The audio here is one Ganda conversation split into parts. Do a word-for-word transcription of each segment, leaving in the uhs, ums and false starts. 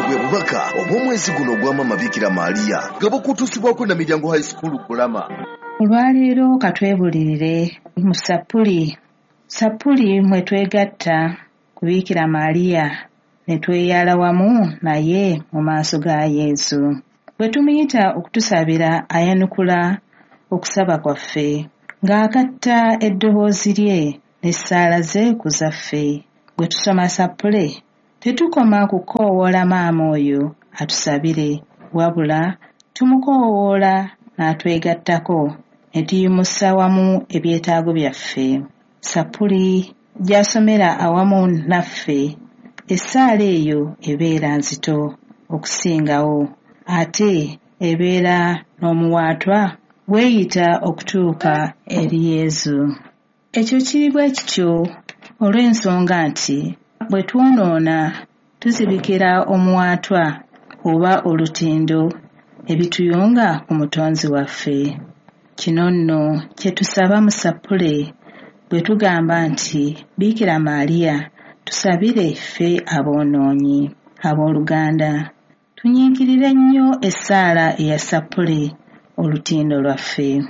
Bwe bubaka obw'omwezi guno ogwa Maama Bikira Maria nga bukutuusibwako na Miryango High School Bulama. Olwaleero katwebulirire mu Sappuli. Sappuli mwe twegatta ku Bikira Maria ne tweyala wamu naye mu maaso ga Yesu. Bwe tumuyita okutusabira ayanukula okusaba kwaffe ng'agatta eddoboozi lye n'essaala ze ku zaffe. Bwe tusoma Sappule tetukoma kukoowoola maama oyo atusabire, wabula tumukoowoola n'atwegattako ne tuyimusa wamu ebyetaago byaffe. Sappuli gy'asomera awamu naffe, essaala eyo ebeera nzito okusingawo, ate ebeera n'omuwaatwa weeyita okutuuka eri Yesu. Ekyo kiri bwe kityo olw'ensonga nti bwe twonoona tuzibikira omuwaatwa oba olutindo ebituyunga ku Mutonzi waffe. Kino nno kye tusaba mu Sappule bwe tugamba nti Bikira Maria tusabire ffe aboonoonyi. Abooluganda, tunyiikirire nnyo essaala eya Sappule, olutindo lwaffe.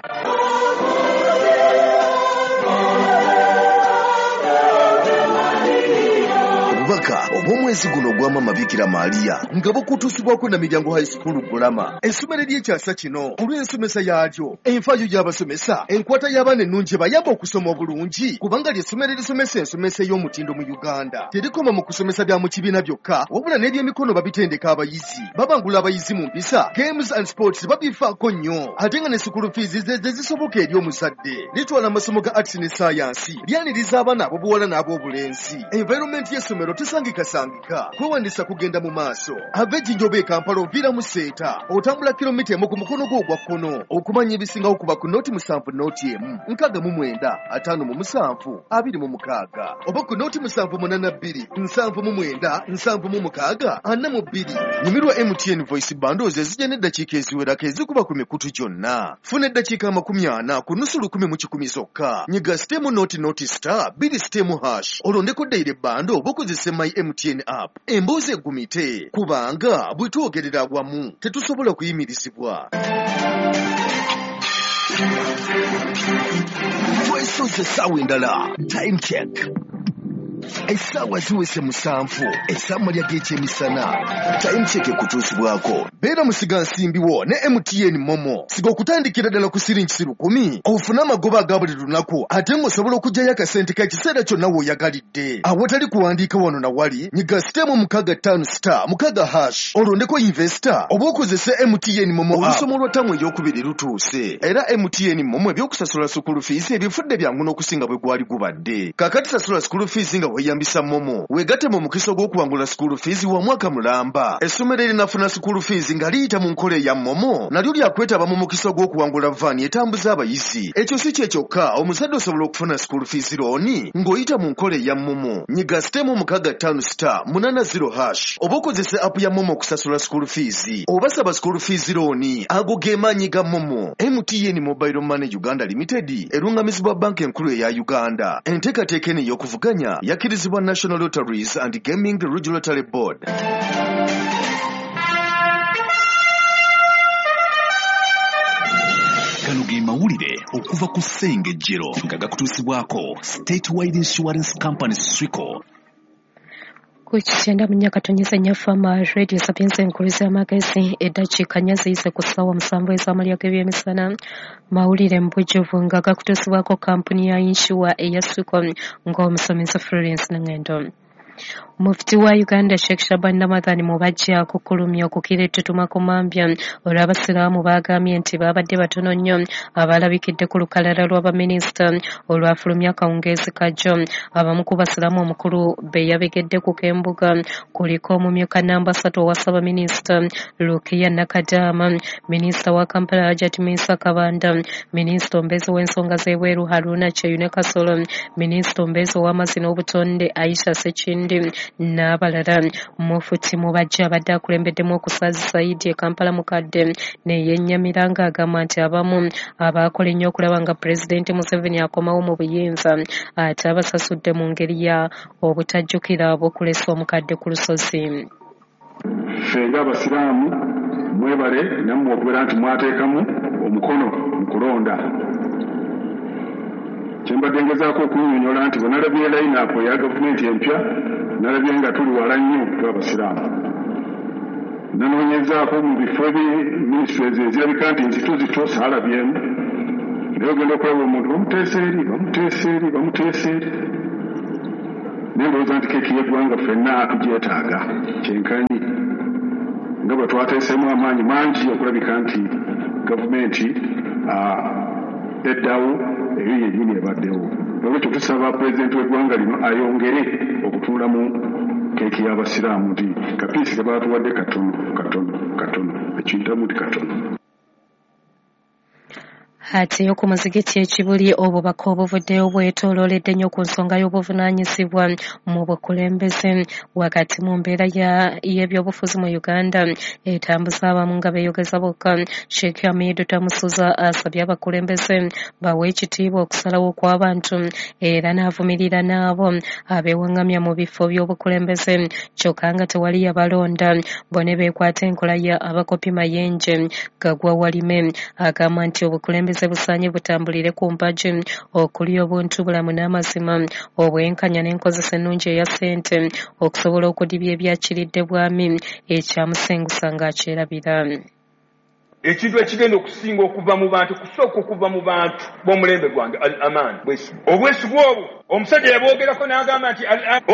Obubaka obw'omwezi guno ogwa Maama Bikira Maria nga bukutuusibwako na Miryango High School Bulama, essomero ery'ekyasa kino olw'ensomesa yaalyo, enfaayo y'abasomesa, enkwata y'abaana ennungi ebayamba okusoma obulungi, kubanga ly'essomero erisomesa ensomesa ey'omutindo mu Uganda. Terikoma mu kusomesa bya mu kibiina byokka, wabula n'ebyemikono babitendeka abayizi, babangula abayizi mu mpisa, games and sports babifaako nnyo, ate nga ne school fees ze zisoboka eri omuzadde. Litwala amasomo ga arts ne science, lyaniriza abaana ab'obuwala n'ab'obulenzi. Environment y'essomero tesangikasangika, kwewandiisa kugenda mu maaso. Ava Ejjinja oba e Kampala oviira mu Seeta, otambula kilomita emu ku mukono gwo ogwa kkono. Okumanya ebisingawo kuba ku nooti musanvu nooti emu nkaaga mu mwenda ataano mu musanvu abiri mu mukaaga oba ku nooti musanvu munaana bbiri nsanvu mu mwenda nsanvu mu mukaaga ana mu bbiri. Nyumirwa M T N Voice Bundles ezijja n'eddakiika eziwerako ezikuba ku mikutu gyonna. Funa eddakiika amakumi ana ku nusu lukumi mu kikumi zokka. Nyiga sitemu nooti nooti star bbiri sitemu hash olondeko daily bundle oba okozese My M T N app. Emboozi egumite kubanga bwe twogerera wamu tetusobola kuyimirizibwa. Twesoze essaawa endala. Time check. Essaawa ziweze musanvu, essaawa ly'ekyemisana. Time check ekutuusibwako. Beera musigansimbi wo ne M T N Momo. Siga okutandikira ddala ku siringi lukumi, ofune amagoba aga buli lunaku, ate ng'osobola okuggyayo akasente k'ekiseera kyonna w'oyagalidde. Awatali kuwandiika wano na wali, nyiga sitemu mukaaga ttaano star mukaaga hash, olondeko investor oba okozese M T N Momo. Olusomo lwa ttamu ey'okubiri lutuuse, era M T N Momo eby'okusasula school fees ebifudde byangu n'okusinga bwe gwali gubadde. Kaakati sasula school fees nga weeyambisa Momo, weegatte mu mukisa ogw'okuwangula school fees wa mwaka mulamba. Essomero erinafuna school fees nga liyita mu nkola eya Momo nalyo lyakwetaba mu mukisa ogw'okuwangula vaani etambuza abayizi. Ekyo si kye kyokka, omuzadde osobola okufuna school fees looni ng'oyita mu nkola eya Momo. Nyiga sitemu mukaaga ttaano star munaana zero hash oba okozese app ya Momo okusasula school fees oba saba school fees looni. Ago ge maanyi ga Momo. M T N Mobile Money Uganda Limited erungamizibwa Banka Enkulu eya Uganda. Enteekateeka eno ey'okuvuganya yakkirizibwa National Lotteries and Gaming Regulatory Board. Gano ge mawulire okuva ku Ssengejjero nga gakutuusibwako Statewide Insurance Company Swico. Ku kyenda mu nnya katonyeza nnya Fama Radio Sapienza enkulu z'amagezi, eddakiika nnya ziyise ku ssaawa musanvu ez'amalya g'ebyemisana. Mawulire mu bujjuvu nga gakutuusibwako kampuni ya insure eya Swico ng'omusomesa Florence Nangendo. Mufti wa Uganda Sheikh Shaban Ramadhan Mubajje akukkulumye okukira ettutuma ku mambya olw'abasiraamu baagambye nti baabadde batono nnyo abalabikidde ku lukalala lw'abaminisita olwafulumya akawungeezi kajjo. Abamu ku basiraamu omukulu be yabegedde ku k'embuga kuliko omumyuka namba ssatu owa ssaabaminisita Rukia Nakadama, minisita wa Kampala Hajat Minsa Kabanda, minisita omubeezi w'ensonga z'ebweru Haruna Kyeyune Kasolo, minisita omubeezi ow'amazzi n'obutonde Aisha Sekindi n'abalala. Mufuti Mubajje abadde akulembeddemu okusaazisa Idi e Kampala mukadde ne yennyamira ng'agamba nti abamu abaakola ennyo okulaba nga Pulezidenti Museveni akomawo mu buyinza ate abasasudde mu ngeri ya obutajjukira obukulesa omukadde ku lusozi. Ffe ng'abasiraamu mwebale nammwe okubeera nti mwateekamu omukono mu kulonda. Kyembadde ngezaako okunnyonnyola nti bwe nalabye line-up eya gavumenti empya, nalabye nga tuli wala nnyo tw'abasiraamu. Nanoonyezaako mu bifo ebi ministries ezirabika nti nzito zito saalabyemu, naye ogenda okulaba omuntu bamuteesa eri bamuteesa eri bamuteesa eri. Naye ndowooza nti keeki y'eggwanga ffenna tugyetaaga kyenkanyi nga bwe twateeseemu amaanyi mangi okulabika nti gavumenti eddawo eyo yennyini ebaddewo. Olwekyo tusaba pulezidenti w'eggwanga lino ayongere okutunula mu keeki y'abasiraamu nti kapiisi ke baatuwadde katono katono katono ekintamu nti katono. Ate ku muzigiti ekibuli obubaka obuvuddeyo bwetoolooledde nnyo ku nsonga y'obuvunaanyizibwa mu bukulembeze wakati mu mbeera y'ebyobufuzi mu Uganda etambuza abamu nga beeyogeza bokka. Sheikh Hamidu Tamusuza asabye abakulembeze bawe ekitiibwa okusalawo kw'abantu era n'avumirira n'abo abeewaŋŋamya mu bifo by'obukulembeze kyokka nga tewali yabalonda. Bo ne beekwata enkola ya abakopi Mayenje Gagwa Walime agamba nti obukulembeze busaanye butambulire ku mpagi okuli obuntu bulamu n'amazima, obwenkanya n'enkozesa ennungi eya ssente okusobola okudibya ebyakiridde bwami ekyamusengusa ng'akyerabira. Ekintu ekigenda okusinga okuva mu bantu kusooka okuva mu bantu b'omulembe gwange al amaan, bwesigwa. Obwesigwa obwo omusajja yabwogerako n'agamba nti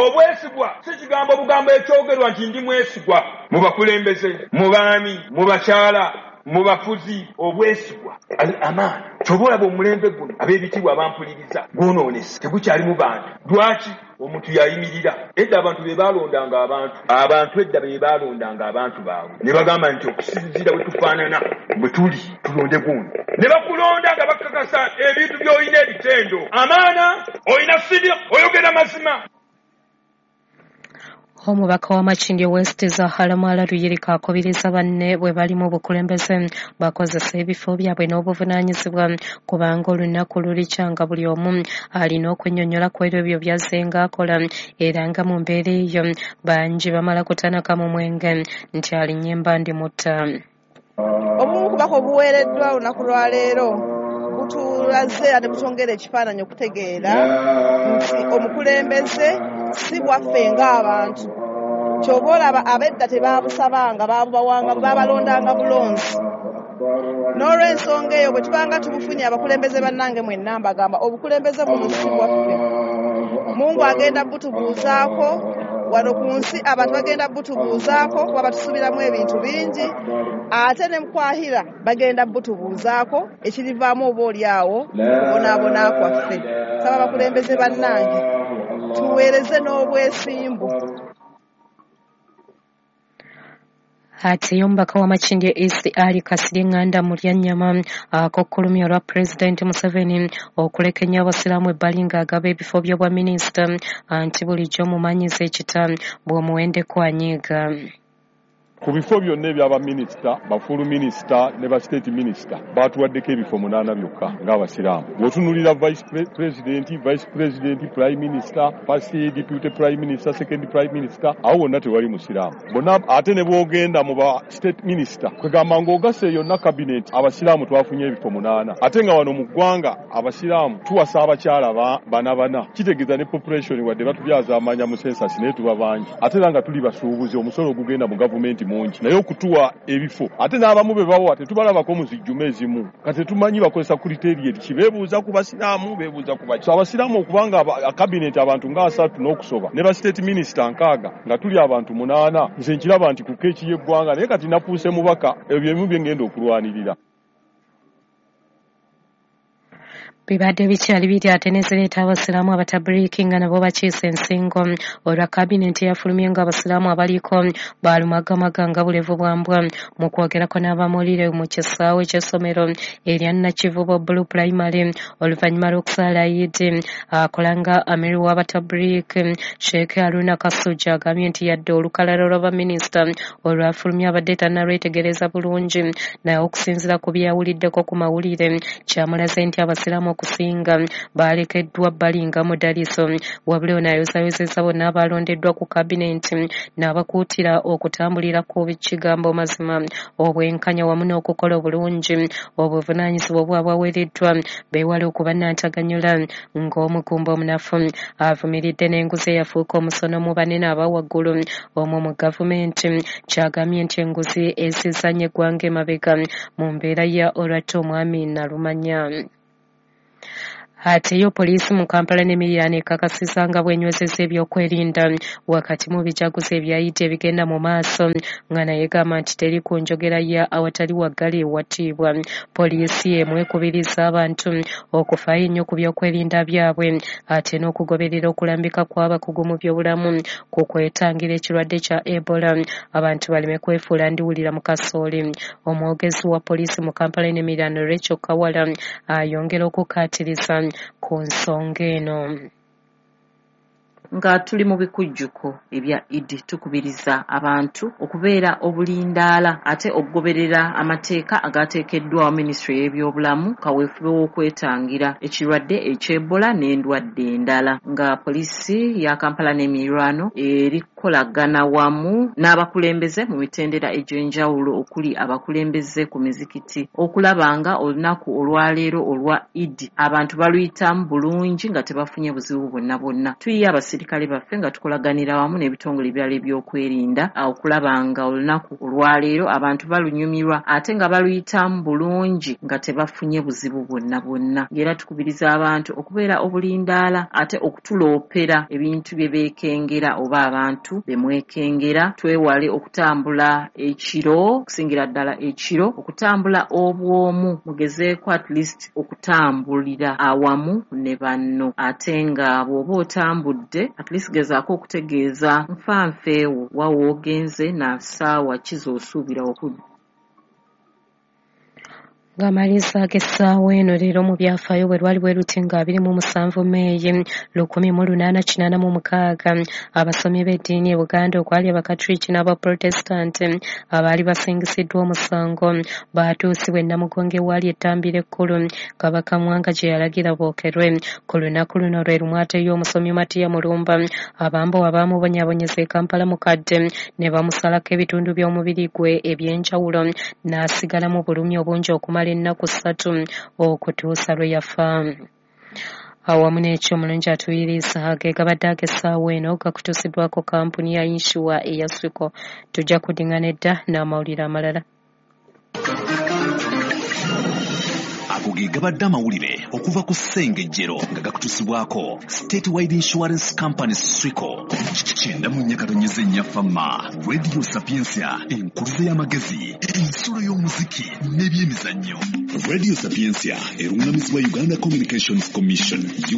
obwesigwa si kigambo bugambo ekyogerwa nti ndi mwesigwa mu bakulembeze, mu baami, mu bakyala, mu bafuzi. Obwesigwa al amaan. Ky'oba olaba omulembe guno ab'ebitiibwa abampuliriza gwonoonese, tegukyalimu bantu. Lwaki? Omuntu yayimirira. Edda abantu be baalondanga abantu, abantu edda be baalondanga abantu baabwe ne bagamba nti okusinziira bwe tufaanana bwe tuli tulonde gundi, ne bakulonda nga bakakasa ebintu by'olina ebitendo, amaana olina sidiq, oyogera mazima. Omubaka wa Makindye West Zahara Mwala Luyirika akubiriza banne bwe bali mu bukulembeze bakozesa ebifo byabwe n'obuvunaanyizibwa kubanga olunaku lulikyanga buli omu alina okunnyonnyola ku ebyo by'azzenga akola era nga mu mbeera eyo bangi bamala kutanaka mu mwenge nti alinnye embandi mutta. Obumu ku bubaka obuweereddwa olunaku lwaleero butulaze ate butwongera ekifaananyi okutegeera nti omukulembeze si bwaffe ng'abantu. Ky'oba olaba ab'edda tebaabusabanga, baabubawanga, baabalondanga bulonzi. N'olw'ensonga eyo bwe tubanga tubufunye abakulembeze bannange mwenna mbagamba obukulembeze buno si bwaffe. Mungu agenda butubuuzaako wano ku nsi, abantu bagenda butubuuzaako kuba batusuubiramu ebintu bingi, ate ne mukwahira bagenda butubuuzaako ekirivaamu oba oli awo okubonaabona kwaffe. Saba abakulembeze bannange tuweereze n'obwesimbu. Ate omubaka wa Makindye East Ali Kasirye Nganda Mulyannyama akokkulumya olwa Pulezidenti Museveni okuleka ennyo abasiraamu ebbali ng'agaba ebifo by'obwaminisita anti bulijjo omumanyiza ekita bw'omuwendeko anyiiga. Ku bifo byonna eby'abaminisita, bafuulu minisita ne ba state minisita baatuwaddeko ebifo munaana byokka ng'abasiraamu. Bw'otunuulira vice president, vice president, prime minister, first deputy prime minister, second prime minister, awo wonna tewali musiraamu. Bonna ate ne bw'ogenda mu ba state minister, kwegamba ng'ogasse yonna cabinet abasiraamu twafunye ebifo munaana. Ate nga wano mu ggwanga abasiraamu tuwasa abakyala bana bana, kitegeeza ne population wadde batubyaza amanya mu census naye tuba bangi. Ate era nga tuli basuubuzi, omusolo ogugenda mu gavumenti mungi, naye okutuwa ebifo ate n'abamu be bawa tetubalabako mu zijjuma ezimu. Kati tetumanyi bakozesa criteria ki, beebuuza ku basiraamu, beebuuza ku baki. So abasiraamu okubanga cabinet abantu nga asatu n'okusoba ne ba state minister nkaaga nga tuli abantu munaana, nze nkiraba nti ku keeki y'eggwanga, naye kati nafuuse mubaka, ebyo ebimu bye ngenda okulwanirira. Bibadde bikyali biri ate ne zireeta abasiraamu abatabiriiki nga nabo bakiise ensingo olwa kabinenti eyafulumye nga abasiraamu abaliko baalumagamaga nga bulevu bwa mbwa. Mu kwogerako n'abamulire mu kisaawe ky'essomero erya Nakivubo Blue Primary oluvannyuma lw'okusaala Eid, akola nga amiri w'abatabiriiki Sheikh Haruna Kasujja agambye nti yadde olukalala lw'abaminisita olwafulumye abadde tannalwetegereza bulungi, naye okusinziira ku byawuliddeko ku mawulire kyamulaze nti abasiraamu okusinga balekeddwa balinga mudaliso. Wabula ono ayozaayozezza bonna abalondeddwa ku kabineeti n'abakuutira okutambulira ku kigambo mazima, obwenkanya wamu n'okukola obulungi obuvunaanyizibwa obwabwaweereddwa, beewale okuba nnantaganyula ng'omugumba omunafu. Avumiridde n'enguzi eyafuuka omusono mu banene aba waggulu omwo mu gavumenti, kyagambye nti enguzi ezizannya eggwanga emabega mu mbeera ya olwatta omwami Nalumanya. Ate yo poliisi mu Kampala n'emiriraano ekakasizza nga bw'enywezezza ebyokwerinda wakati mu bijaguzo ebyayidde ebigenda mu maaso, nga naye gamba nti teri ku njogera ya awatali waggali ewatiibwa. Poliisi emu ekubiriza abantu okufaayo ennyo ku byokwerinda byabwe ate n'okugoberera okulambika kw'abakugu mu byobulamu ku kwetangira ekirwadde kya Ebola, abantu baleme kwefuula ndiwulira mu kasooli. Omwogezi wa poliisi mu Kampala n'emiriraano Rachel Kawala ayongera okukkaatiriza ku nsonga eno. Nga tuli mu bikujjuko ebya Idi, tukubiriza abantu okubeera obulindaala ate okugoberera amateeka agateekeddwawo minisitule y'ebyobulamu kaweefube w'okwetangira ekirwadde eky'Ebola n'endwadde endala. Nga poliisi ya Kampala n'emiriraano erikukolagana wamu n'abakulembeze mu mitendera egy'enjawulo okuli abakulembeze ku mizikiti okulaba nga olunaku olwaleero olwa Idi abantu baluyitamu bulungi nga tebafunye buzibu bwonna bwonna. Tuyiye abasirikale baffe nga tukolaganira wamu n'ebitongole ebirala ebyokwerinda okulaba nga olunaku olwaleero abantu balunyumirwa ate nga baluyitamu bulungi nga tebafunye buzibu bwonna bwonna. Era tukubiriza abantu okubeera obulindaala ate okutuloopera ebintu bye beekengera oba abantu be mwekengera. Twewale okutambula ekiro, okusingira ddala ekiro, okutambula obwomu, mugezeeko at least okutambulira awamu ne banno, ate nga bw'oba otambudde at least gezaako okutegeeza nfanfeewo wa w'ogenze na ssaawa ki z'osuubira okudda. Ng'amalizaako essaawa eno leero mu byafaayo bwe lwali bwe luti nga abiri mu musanvu Meeyi lukumi mu lunaana kinaana mu mukaaga, abasomi b'eddiini e Buganda okwali Abakatuliki n'Abaprotestanti abaali basingisiddwa omusango baatuusibwa e Namugongo ewaali ettambiro ekkulu Kabaka Mwanga gye yalagira bookerwe. Ku lunaku luno lwe lumu ate ye omusomi Matiya Mulumba abambowa baamubonyaabonyeza e Kampala mukadde ne bamusalako ebitundu by'omubiri gwe eby'enjawulo n'asigala mu bulumi obungi okumala ennaku ssatu okutuusa lwe yafa. Awamu n'ekyo omulungi atuyiriza ge gabadde ag'essaawa eno gakutuusiddwako kampuni ya yinsuwa eya Swico. Tujja kuddingana edda n'amawulire amalala. Ago ge gabadde amawulire okuva ku Ssengejjero nga gakutuusibwako Statewide Insurance Company Swico. Kyenda mu nnya katonyeze nnya Fama, Radio Sapientia, enkuluze y'amagezi, ensulo y'omuziki n'ebyemizannyo. Radio Sapientia erungamizibwa Uganda Communications Commission.